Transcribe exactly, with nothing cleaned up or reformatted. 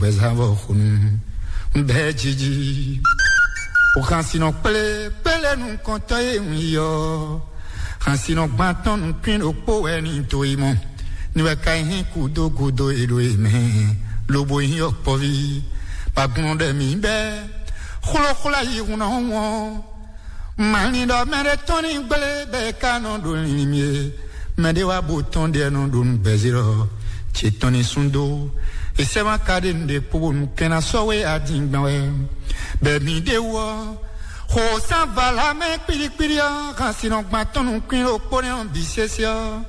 gbɛzavɔ xonu bɛɛ jiji. O xansinɔ kplé kplé nukɔntɔn e un yi ɔ, xansinɔ gbantɔn nukun ɖokpó wɛ ni to yi mɔ, ni wɛ ka yi hín kudo kudo e ɖo e mɛ, lobo yi ɔ kpɔvi, bagunɔ ɖɛ mi bɛ xlɔxlɔ yi hun ɔ wɔn. Mali ɖɔ mɛɖé tɔn ní gblé bɛ ka nɔ ɖo linlin mi e, mɛɖé wá bo tɔn ɖe nɔ ɖo nǔgbɛzé lɔ ce tɔn ní sún dó. Esɛ́ma ka ɖe nǔɖé kpo bónú kɛn ná sɔ́ wé adingban wɛ. Bɛ mi ɖé wú ɔ́, xo sán vala mɛ kpíɖíkpíɖí ɔ́, xansinɔ gbantɔn nukún ɖokpó nɛ́ ɔ́ bǐ sésé ɔ́,